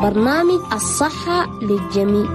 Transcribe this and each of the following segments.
برنامج الصحة للجميع.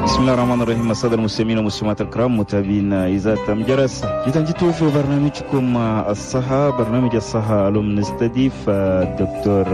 بسم الله الرحمن الرحيم. السادة المستمعين والمستمعات الكرام متابعين إذاعة أم جرس، جيتوا في برنامجكم الصحة، برنامج الصحة. اليوم نستضيف الدكتور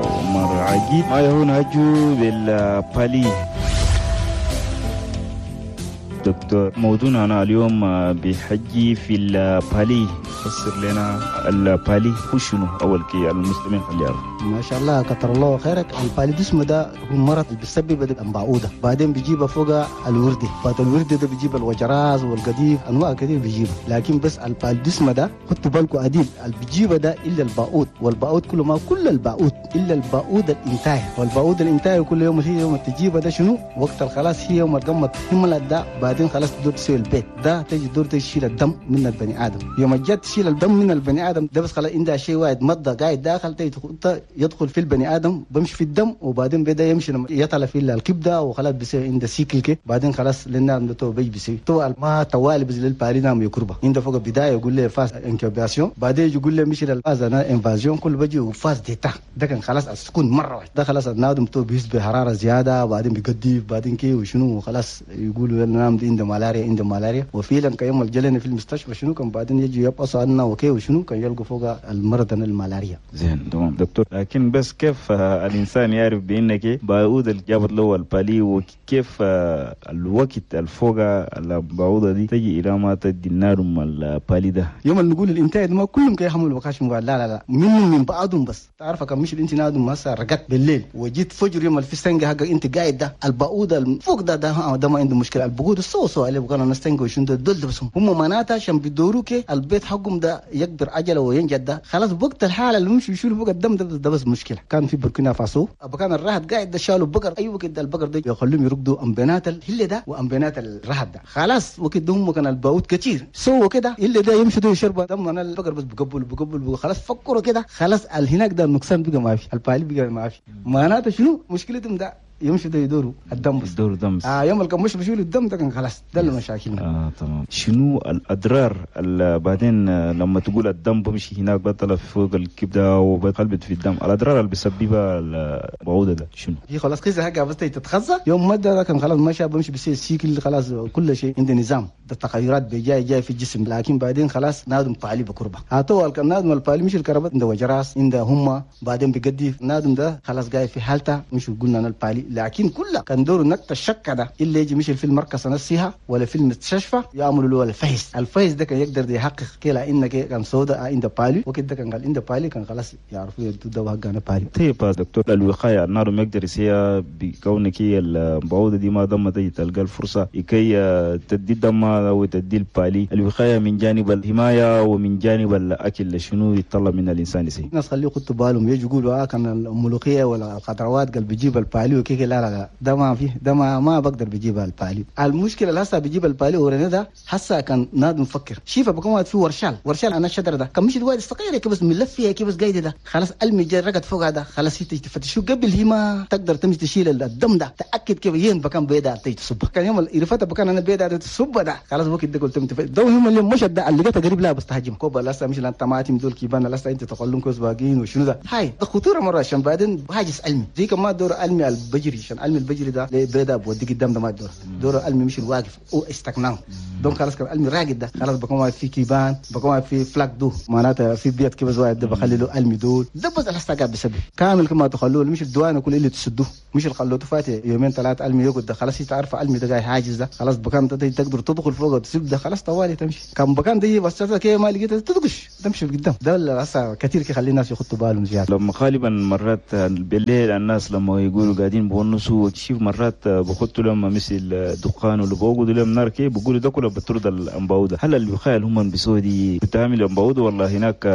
عمر عجيب، ما هو نهجو بال palu. دكتور، موضوعنا اليوم بحجي في ال palu، فسر لنا ال palu هو شنو أول كي المسلمين اللي يعرفوا. ما شاء الله، كتر الله خيرك. ال paludisme ده هو مرض بيسبب البعوضة، بعدين بيجيب فوق الوردي، بعد الوردي ده بيجيب الوجراز والقديف، انواع كثير بيجيبها. لكن بس ال paludisme ده خدوا بالكم عديل، اللي بيجيبه ده الا البعوض، والبعوض كله ما كل البعوض الا البعوض الانتاي، والبعوض الانتاي كل يوم هي يوم تجيبه ده شنو وقت الخلاص، هي يوم القمة هملت ده، بعدين خلاص تدور تسوي البيت ده، تجي تدور تشيل الدم من البني ادم. يوم جت تشيل الدم من البني ادم ده بس خلاص عندها شيء واحد مضى قاعد داخل يدخل في البني ادم، بمشي في الدم، وبعدين بدا يمشي يطلع في الكبده، وخلاص بيصير عنده cycle كي، بعدين خلاص لان تو بيجي بيصير تو ما توالي بس لل palu نام يكربه عنده فوق بداية يقول لي phase incubation، بعدين يقول لي مشي لل phase انا invasion، كل بيجي و phase d'état ده كان خلاص السكون مرة واحدة ده، خلاص النادم تو بيحس بحرارة زيادة، وبعدين بيقدف بعدين كي وشنو، وخلاص يقولوا نام عنده ملاريا عنده ملاريا. وفعلا كيوم الجلنا في المستشفى شنو كان بعدين يجي يبقى عنا وكي وشنو كان يلقوا فوق المرض الملاريا. زين تمام دكتور، لكن بس كيف الإنسان يعرف بأنك بعوضة اللي جابت له ال palu، وكيف الوقت الفوق البعوضة دي تجي إلى ما تدي النار ال palu ده؟ يوم اللي نقول الإنتاج ما كلهم كي يحملوا بكاش مقال، لا لا لا من بعضهم بس. تعرف كم مش الانت نادم هسه رقدت بالليل وجيت فجر يوم في السنجة حق انت قاعد ده البعوضة فوق ده ده ده ما عنده مشكلة، البعوضة سو اللي بقى نستنجة وشنو ده دول بس هم معناتها عشان بيدوروك البيت حقهم ده يقدر عجله وينجد ده خلاص وقت الحالة اللي مش يشيلوا فوق الدم ده, ده بس مشكلة. كان في بوركينا فاسو كان الرهد قاعد ده شالوا بقر، اي وقت ده البقر ده يخليهم يرقدوا امبنات الهله ده وامبنات الرهد ده خلاص وقت هم كان الباوت كتير سووا كده اللي ده يمشي ده يشرب دم انا البقر بس بقبل خلاص فكروا كده خلاص هناك ده النقصان بقى ما في، ال palu بقى ما في، معناته شنو مشكلتهم ده يمشي ده يدوروا الدم بس يدوروا دم بس. يوم الكمش بيشيلوا الدم ده كان خلاص ده اللي مشاكلنا. تمام. شنو الاضرار اللي بعدين لما تقول الدم بمشي هناك بطلع فوق الكبده وبقلبت في الدم، الاضرار اللي بيسببها البعوضة ده شنو؟ هي خلاص كذا حاجة بس تتخزى يوم ما ده كان خلاص ماشي بمشي بيصير cycle خلاص كل شيء عنده نظام ده التغيرات بيجاي جاي في الجسم، لكن بعدين خلاص نادم palu بكربه هاتوا نادم ال palu مش الكربة عنده وجراس عنده هم بعدين بيقدي نادم ده خلاص جاي في حالته مش قلنا انا ال palu، لكن كله كان دوره نقطة الشك ده اللي يجي مش في المركز نفسها ولا في المستشفى يعملوا له الفحص، الفحص ده كان يقدر يحقق كلا انك كان سودا عند palu وكده كان قال عند palu كان خلاص يعرفوا يدوا دواء كان palu. طيب دكتور، الوقاية النار ما يقدر يسيها بكونك هي البعوضة دي ما دام تجي تلقى الفرصة لكي تدي الدم او تدي ال palu، الوقاية من جانب الحماية ومن جانب الاكل شنو يتطلب من الانسان يسي؟ الناس خليه يحطوا بالهم يجي يقولوا كان الملوخية ولا الخضروات قال بيجيب ال palu وكيك، لا لا لا ده ما فيه، ده ما بقدر بجيب ال palu. المشكلة اللي هسه بجيب ال palu ورنا ده هسه كان نادم مفكر شيفة بكون في ورشال ورشال انا الشجرة ده كان مش الواد الصغيرة كيف بس ملف فيها كيف بس قايدة ده خلاص المي رقد فوق هذا خلاص هي تفتشوا قبل هي ما تقدر تمشي تشيل الدم ده تاكد كيف ين بكان بيدا تصب كان يوم الرفته بكان انا بيدا تصب ده خلاص وقت ده قلت ده هم اللي مش ده اللي لقيتها قريب لا بس تهاجم كوبا لسه مش لان طماطم دول كيبان لسه انت تقولون كوز باقين وشنو ده هاي ده خطورة مرة عشان بعدين هاجس علمي زي كما دور علمي البجري عشان علمي البجري ده بيدا بودي قدام ده ما دور دور علمي مش الواقف او استقناه donc خلاص كان علمي راقد ده خلاص بكون في كيبان بكون في flaque d'eau معناتها في بيت كيف زوايد ده بخلي له علمي دول ده بس الحسا قاعد بسبب كامل كما تخلوه مش الدوانه كل اللي تسدوه مش الخلوة فات يومين ثلاث علمي يقعد ده خلاص تعرف علمي ده جاي حاجز ده خلاص بكان تقدر تدخل فوق وتسيب ده خلاص طوالي تمشي كان بكان ده بس كي ما لقيت تدقش تمشي قدام ده اللي هسه كثير كيخلي الناس يخطوا بالهم زيادة. لما غالبا مرات بالليل الناس لما يقولوا قاعدين بونسوا وتشوف مرات بخطوا لهم مثل دخان ولا بوقدوا لهم نار كي بيقولوا ده كله بترد الأنباودة، هل الوقاية اللي هم بيسووا دي بتعمل الأنباودة ولا هناك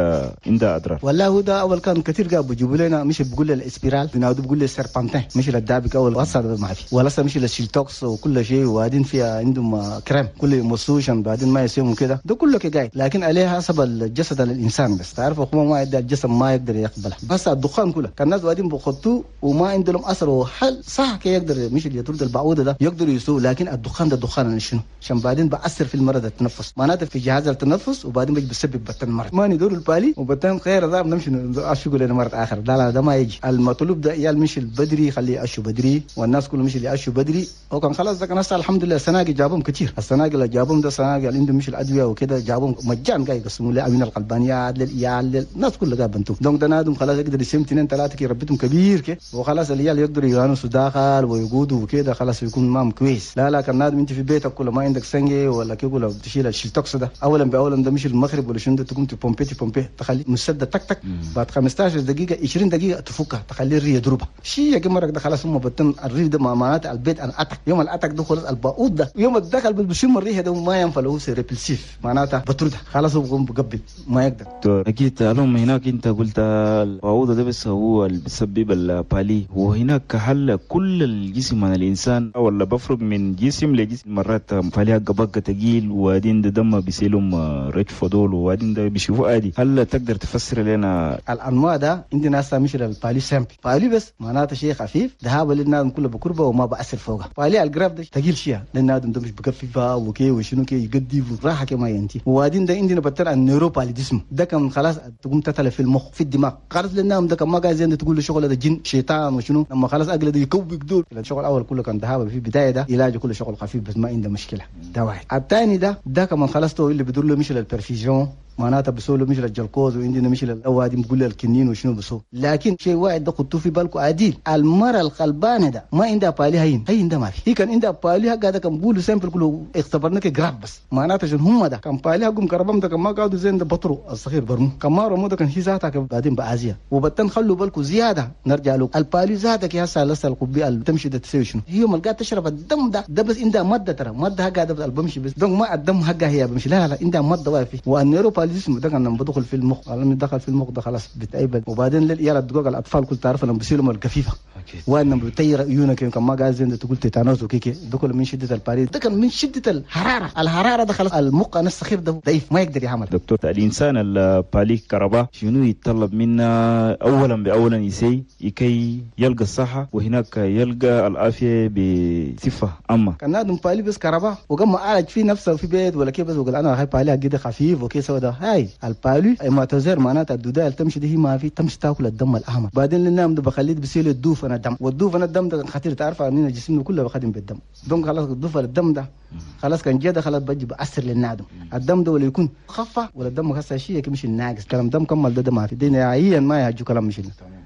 عندها أضرار؟ والله هو ده أول كان كثير قاعد بيجيبوا لنا مش بيقول الاسبيرال بينادوا بيقول السربنتين مش الدابك أول وصل ما في ولا مش الشيلتوكس وكل شيء وبعدين فيها عندهم كريم كل مسوشن بعدين ما يسيهم كده ده كله كجاي، لكن عليها حسب الجسد الإنسان بس تعرف هو ما يقدر الجسم ما يقدر يقبلها بس الدخان كله كان الناس بعدين بخطوة وما عندهم اثر هل صح كي يقدر مش اللي يطرد البعوضة ده يقدر يسوق، لكن الدخان ده دخان شنو؟ عشان بعدين بأثر في المرض التنفس، معناته في جهاز التنفس، وبعدين بيجي بسبب بتن مرض. ما ندور ال palu وبتن خير ده بنمشي اشو لنا مرض اخر. لا لا ده ما يجي. المطلوب ده عيال مش البدري خليه اشو بدري، والناس كلهم مش اللي اشو بدري. وكان خلاص ده كان الحمد لله السناقي جابهم كثير، السناقي اللي جابهم ده سناقي اللي عندهم مش الادوية وكده جابهم مجان قاعد يقسموا له امين القلبانيات للعيال الناس كلها قاعد بنتو. donc ده نادم خلاص يقدر يسم 2 3 كي ربيتهم كبير كي، وخلاص العيال يقدروا يانسوا داخل ويقودوا وكده، خلاص يكون مام كويس. لا لا كان نادم انت في بيتك كله ما عندك سنجي ولا كي كله تشيل الشيلتوكس ده اولا باولا ده مش المغرب ولا شنو تقوم تبومبي تبومبي تخلي مسدة تك تك بعد 15 دقيقة 20 دقيقة تفكها تخلي الري يضربها شيء يا جماعة ده خلاص هم بتن الري ده معناته البيت انا اتك يوم الاتك ده خلاص الباقوط ده يوم الدخل بشم الريحة ده ما ينفع له ريبلسيف معناته بطردها خلاص هو بقوم بقبل ما يقدر. اكيد الهم هناك انت قلت البعوضة ده بس هو اللي بيسبب ال palu، وهناك هل كل الجسم من الانسان ولا بفرق من جسم لجسم؟ مرات palu بقى ثقيل وبعدين ده دم بيسيلهم رجفه دول وبعدين ده بيشوفوا عادي. هل تقدر تفسر لنا الانواع ده؟ عندنا هسه مش ال palu simple، palu بس معناته شيء خفيف ده هذا للنادم كله بكربه وما بأثر فوقها. palu ال grave ده ثقيل شيء للنادم ده مش بكففها وكي وشنو كي يقدي راحة كما ينتي. وبعدين ده عندنا بتر ال neuropaludisme ده كان خلاص تقوم تتلف في المخ في الدماغ خلاص للنادم ده كان ما قاعد زين تقول له شغل ده جن شيطان وشنو لما خلاص اقل ده يكوبك دول. الشغل الاول كله كان ذهاب في بداية ده علاجه كله شغل خفيف بس ما عنده مشكلة. ده واحد. الثاني ده كمان خلاص تو اللي بدور له مش ال perfusion معناتها بسولو مش الجلكوز وعندنا مش الاوادي بقول الكنين وشنو بسو. لكن شيء واحد ده خطوة في بالكم عديل، المرة القلبانه ده ما عندها palu هين هين ده ما في. هي كان عندها palu هذا كان بقولوا simple كله اختبرناك grave بس معناتها عشان هم ده كان palu حقهم كربم ده كان ما قعدوا زين ده بطروا الصغير برمو كان ما رمو ده كان هي ذاتها بعدين بعازيه. وبتن خلوا بالكم زيادة نرجع له ال palu ذاتك يا هسه لسه القبي تمشي ده تسوي شنو هي ما قاعد تشرب الدم ده بس عندها مادة ترى مادة حقها بمشي بس donc ما الدم حقها هي بمشي لا لا عندها مادة واقفة. وال neuro الجسم ده كان لما بدخل في المخ لما دخل في المخ ده خلاص بتعب. وبعدين للعيال الدقوق الاطفال كل تعرف لما بيصيروا الكفيفه وان بتطير عيونك كان ما قاعد زين تقول تيتانوس وكيكي ده كله من شده ال palu ده كان من شده الحرارة ده خلاص المخ انا الصغير ده ضعيف ما يقدر يعمل. دكتور الانسان ال palu كربا شنو يتطلب منا اولا باولا يسي لكي يلقى الصحة وهناك يلقى العافية بصفة عامة؟ كان نادم palu بس كربا وقام عالج في نفسه في بيت ولا كيف بس وقال انا هاي palu كده خفيف وكي سوى ده هاي ال palu hématozoaire معناتها الدوداء اللي تمشي دي ما في تمشي تاكل الدم الاحمر. بعدين للنام ده بخليه بيسيل الدوف انا الدم والدوف انا الدم ده خطير تعرف اننا جسمنا كله بخدم بالدم donc خلاص الدوف الدم ده خلاص كان جدا خلاص بجي بأثر للنادم الدم ده ولا يكون خفه ولا الدم خاصة شيء مش الناقص كلام دم كمل ده ما في دينا عيا ما يهجو كلام مش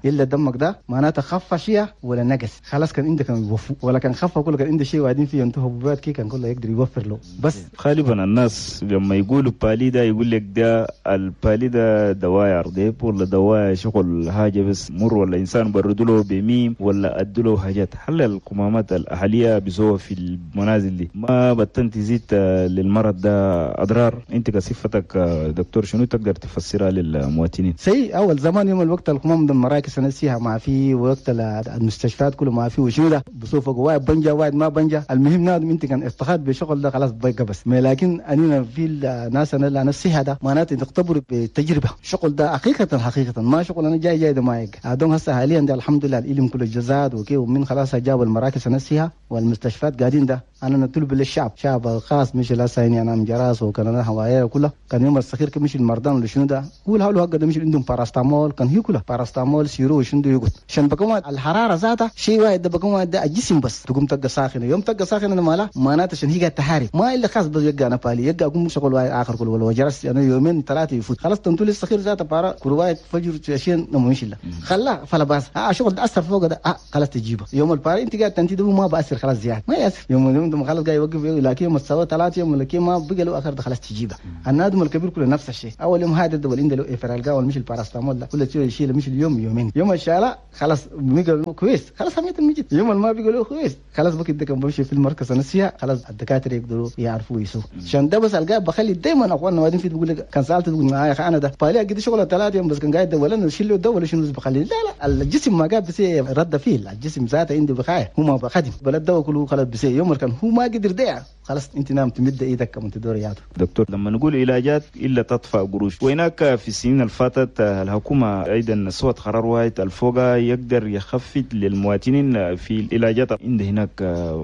الا دمك ده معناته خفه شيء ولا نقص خلاص كان عندك كان يوفوا ولا كان خفه كله كان عنده شيء وبعدين فيه انتهى حبوبات كي كان كله يقدر يوفر له بس. غالبا الناس لما يقولوا palu ده يقول لك ده ال palu ده دواء عرضيب ولا دواء شغل حاجة بس مر ولا انسان بردوا له بميم ولا ادوا له حاجات. هل القمامات الاهلية بيسوها في المنازل دي ما بتن تزيد للمرض ده اضرار؟ انت كصفتك دكتور شنو تقدر تفسرها للمواطنين؟ سي اول زمان يوم الوقت القمام ده المراكز نسيها ما في وقت المستشفيات كله ما في وشنو ده بصوفك واحد بنجا واحد ما بنجا. المهم نادم انت كان استخاد بشغل ده خلاص بقى بس لكن اننا في الناس انا اللي نسيها ده معناته نختبر بتجربه شغل ده حقيقة حقيقة ما شغل انا جاي جاي ده ما يق ادون هسه حاليا ده الحمد لله العلم كله جزاد وكي ومن خلاص جاب المراكز نسيها والمستشفيات قاعدين ده انا نطلب للشعب شعب خاص مش لا سايني انا مجراس وكان انا هواية كله كان يوم الصغير مش المرضان ولا شنو ده قول هلو هكذا ده مش عندهم باراستامول كان هي كله باراستامول سيرو شنو ده يقول عشان بكون الحرارة ذاتها شيء واحد ده بكون ده الجسم بس تقوم تلقى ساخنة يوم تلقى ساخنة مالا معناته عشان هي قاعدة تحارب ما الا خاص بس يلقى انا بالي يلقى اقوم شغل واحد اخر كله ولا جرس انا يومين ثلاثة يفوت خلاص تنتولي الصغير ذاته بارا كل واحد فجر عشان نمشي له خلاه فلا باس شغل اثر فوق ده خلاص تجيبه يوم الباري انت قاعد تنتي ما باثر خلاص زيادة ما ياثر يوم يوم خلاص قاعد يوقف لكن يوم السوا 3 يوم لكن ما بقى له اخر خلاص تجيبه. النادم الكبير كله نفس الشيء اول يوم هذا ده عنده له افرالجا ولا مش الباراستامول ده كل شيء يشيل مش اليوم يومين يوم الشارع خلاص بيقول كويس خلاص هميت المجد يوم ما بيقولوا كويس خلاص بكده كان بمشي في المركز نسيها خلاص الدكاترة يقدروا يعرفوا يسووا عشان ده بس القى بخلي دائما اخواننا وبعدين في تقول لك كان سالت تقول يا اخي انا ده بالي قد شغله 3 يوم بس كان قاعد ولا نشيل له ده ولا شنو بخلي لا لا الجسم ما قاعد بس رد فيه الجسم ذاته عنده بخايه هو ما بخدم بلد ده كله خلاص بس يوم كان هو ما قدر ده خلاص انت نام تمد ايدك كمان تدور ياته. دكتور لما نقول علاجات الا تدفع قروش، وهناك في السنين اللي فاتت الحكومة ايضا سوت قرار واحد الفوقا يقدر يخفض للمواطنين في العلاجات عند هناك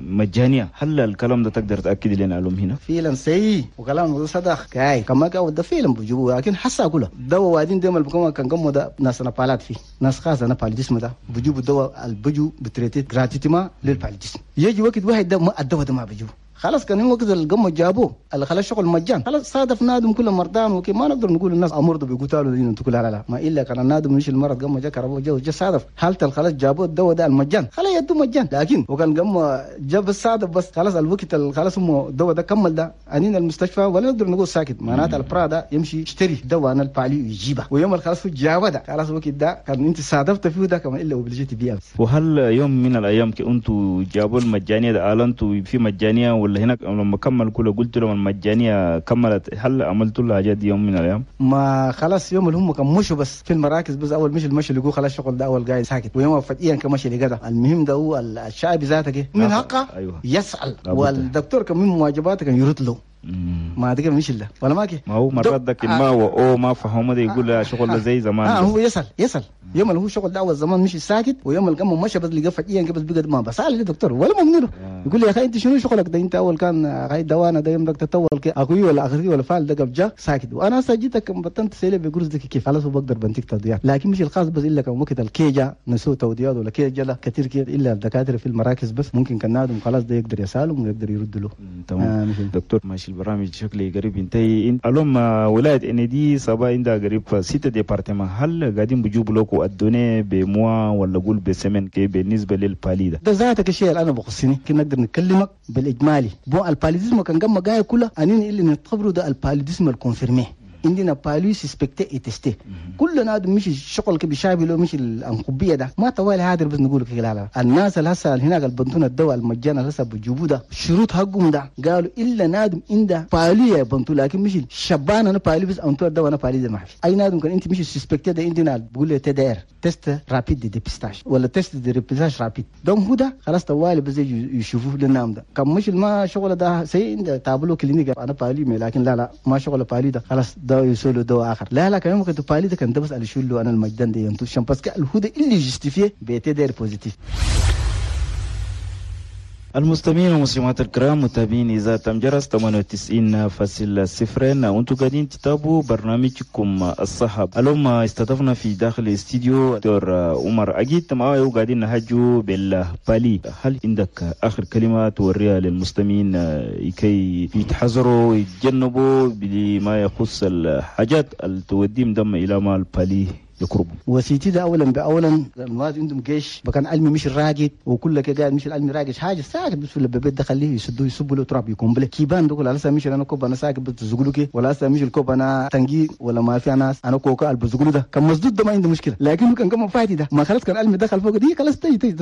مجانية، هل الكلام ده تقدر تاكد لنا علوم هنا؟ فعلا سي وكلام صدق كاي كما قال ده فعلا بجيبوه، لكن حسا كله دواء وادين ديما بكم كان قموا ده ناس نبالات فيه ناس خاصة انا paludisme ده بجيبوا الدواء البجو ب traiter gratuitement لل paludisme، يجي وقت واحد ده ما الدواء ده ما بجيبه خلاص. كان وقت القمة جابوه اللي خلاص شغل مجان خلاص صادف نادم كل مرضان وكي ما نقدر نقول الناس امرضوا بيقتلوا دين تقول لا لا ما الا كان النادم مش المرض قمة جا كربوه جو صادف حالته خلاص جابوه الدواء ده المجان خلاص يدو مجان، لكن وكان قمة جاب الصادف بس خلاص الوقت خلاص هم الدواء ده كمل ده انين المستشفى ولا نقدر نقول ساكت معناته البرا ده يمشي يشتري دواء انا ال palu يجيبه ويوم خلاص جابه ده خلاص الوقت ده كان انت صادفت فيه ده كمان الا obligé تبيع. وهل يوم من الايام انتوا جابوا المجانية ده اعلنتوا في مجانية ولا هناك لما كمل كله قلت لهم المجانية كملت، هل عملتوا لها حاجات يوم من الايام؟ ما خلاص يوم اللي هم كان مشوا بس في المراكز بس اول مش المشي اللي خلاص شغل ده اول قاعد ساكت ويوم فجأة كمشي اللي قدر. المهم ده هو الشعب ذاتك من حقه أيوة. يسأل والدكتور كان من واجباته كان يرد له ما دقيقة مش الله ولا ماكي ما هو مرات ذاك ما هو او ما فهم ده يقول شغل زي زمان هو يسأل يوم اللي هو شغل ده اول زمان مش ساكت ويوم اللي قام مشى بس لقى فجأة بس بقى ما بس سأل الدكتور ولا ممنوع يقول لي يا اخي انت شنو شغلك ده انت اول كان غاي دوانا ده يوم بدك تطول اخوي ولا اخري ولا فعل ده جا ساكت وانا هسه جيتك بطنت سيله بقرص دك كيف خلاص بقدر بنتك تضيع، لكن مش الخاص بس الا كان وقت الكيجا نسو توديات ولا كيجا لا كثير كثير الا الدكاترة في المراكز بس ممكن كان نادم خلاص ده يقدر يسالهم ويقدر يرد له. تمام دكتور ماشي البرامج شكلي قريب ينتهي. اليوم ولاية انيدي صبا عندها قريب 6 départements، هل قاعدين بيجيبوا لكم ال données ب mois ولا قول ب semaine كي بالنسبة لل palu ده؟ ده ذاتك الشيء اللي انا بخصني كي نقدر نكلمك بالاجمالي bon ال paludisme كان قام جاي كله انين اللي نعتبره ده ال paludisme ال confirmé عندنا palu suspecté et testé كل نادم مش الشغل كي بيشابه له مش الانقبيه ده ما طوال هادر بس نقول كده لا لا الناس اللي هسه هناك البنتون الدواء المجانا اللي هسه بيجيبوه ده شروط حقهم ده قالوا الا نادم عنده palu يا بنتو لكن مش شبان انا palu بس انتو الدواء انا palu ده ما في اي نادم كان انت مش suspecté ده عندنا بقول له TDR test rapide de dépistage ولا test de dépistage rapide donc هو ده خلاص طوال بس يشوفوه للنام ده كان مش ما شغل ده سي عنده tableau clinique انا palu لكن لا لا ما شغل palu ده خلاص ده يسولو دواء اخر لا لا كان ممكن ت palu ده كان ده بس على شو له انا المجدان ده ينتو شام parce que الهدى اللي justifié ب TDR positif. المستمعين والمسلمات الكرام متابعين إذاعة تمجرس 98.0 وانتم قاعدين تتابعوا برنامجكم الصحة. اليوم استضفنا في داخل الاستديو دكتور عمر أجيد معاه وقاعدين نهجوا بال palu. هل عندك آخر كلمة توريها للمستمعين كي يتحذروا ويتجنبوا بما يخص الحاجات اللي توديهم دم إلى ما ال palu يقربوا؟ وسيتي ده اولا باولا الناس عندهم جيش بكان علمي مش الراقد وكل كده قاعد مش العلمي راقد حاجة ساكت بس في البيت ده خليه يسدوه يصبوا له تراب يكون بله كيبان دول على مش انا كوب انا ساكت بتزغلو كي ولا مش الكوب انا تنجي ولا ما في ناس انا كوكا البزغلو ده كان مسدود ده ما عنده مشكلة لكن كان كم فاتي ده ما خلاص كان علمي دخل فوق دي خلاص تيجي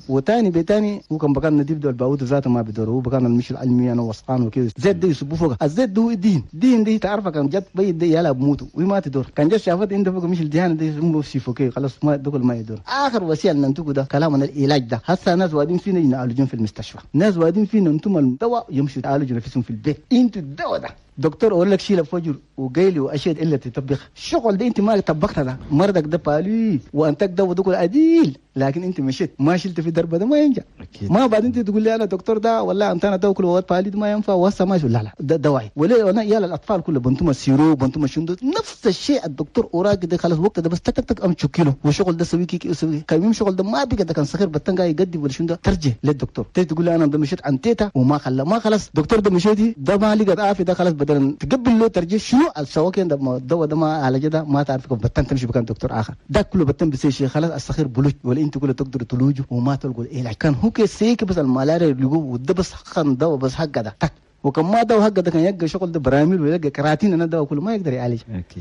وثاني بتاني هو كان بكان نديب دول باود ذاته ما بدوره بكان مش العلمي انا وسقان وكده زيت ده يصبوا فوق الزيت ده الدين دين دي تعرفه كان جت بيد ده يلا بموتوا وما تدور كان جت شافت عنده فوق مش الدهان ده سيفوكي خلاص ما دخل ما يدور. اخر وسيلة ننتجه ده كلامنا العلاج ده هسه ناس وادين فينا يعالجون في المستشفى ناس وادين فينا انتم الدواء يمشوا يعالجوا نفسهم في البيت انتوا الدواء ده دكتور اقول لك شيل فجر وقيلي واشياء الا تطبخ الشغل ده انت ما طبقتها ده مرضك ده palu وانتك ده ودك عديل لكن انت مشيت ما شلت في دربه ده ما ينجح ما بعد انت تقول لي انا دكتور ده ولا انت انا تاكل وقت palu ده ما ينفع وهسه ما لا لا ده دواعي ولا انا يا الاطفال كله بنتم ال sirop بنتم الشندو نفس الشيء الدكتور اوراق ده خلاص وقت ده بس تك تك ام تشكيله وشغل ده سوي كيك سوي كان يوم شغل ده ما بقى ده كان صغير بتنقى يقدي ولا شندو ترجع للدكتور تيجي تقول لي انا ده مشيت عن تيتا وما خلى ما خلاص دكتور ده مشيتي ده ما لقى عافية ده خلاص بدل تقبل له ترجع شنو السواكين ده الدواء ده ما على جدا ما تعرف كيف بتن تمشي بكان دكتور اخر ده كله بتن بسي شيء خلاص الصغير بلوج ولا انت كله تقدر تلوجه وما تلقوا العلاج كان هو كسيك بس الملاريا اللي وده بس خن دواء بس حق ده تك وكم ما دواء حق ده كان يلقى شغل ده براميل ويلقى كراتين انا دواء كله ما يقدر يعالج.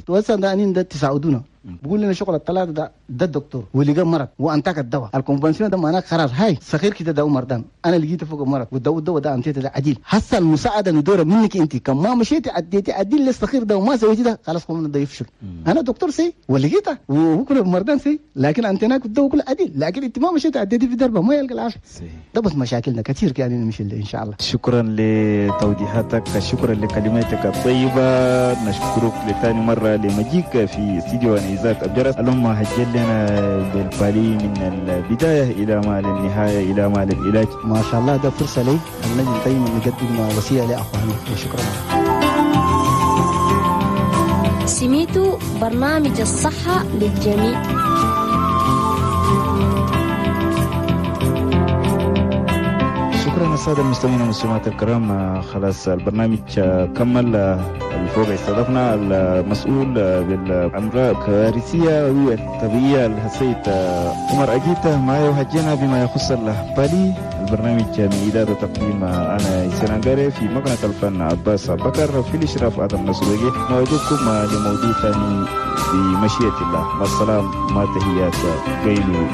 وهسه ده انين ده تساعدونا بقول لنا شغل الثلاثة ده الدكتور ولقى مرض وانتك الدواء ال convention ده معناه قرار هاي صغير كده ده مرضان انا لقيته فوق مرض والدواء ده انتيته ده عديل. هسه المساعدة ندوره منك انت كم ما مشيتي عديتي عديل للصغير ده وما سويتي ده خلاص قمنا ده يفشل. انا دكتور سي ولقيته وهو كله مرضان سي لكن انتناك الدواء كله عديل لكن انت ما مشيتي عديتي في دربه ما يلقى العافية. ده بس مشاكلنا كثير يعني نمشي ان شاء الله. شكرا لتوضيحاتك، شكرا لكلماتك الطيبة، نشكرك لثاني مرة لمجيك في استديو إذاعة أبجرس. اللهم هجل لنا بالبالي من البداية إلى ما للنهاية إلى ما للعلاج. ما شاء الله ده فرصة لي أن نجي دايما نقدم وصية لأخواني وشكرا. سميتو برنامج الصحة للجميع. شكرا السادة المستمعين والمستمعات الكرام، خلاص البرنامج كمل. الفوق استضفنا المسؤول بالأمراض الكارثية والطبيعية السيد عمر أجيتا معي وحجينا بما يخص البالي. البرنامج من إدارة تقديم أنا سنغاري، في مقنة الفن عباس بكر، في الإشراف آدم نصروجي. نوعدكم لموضوع ثاني بمشيئة الله. مع السلامة، ما تحيات قيلو.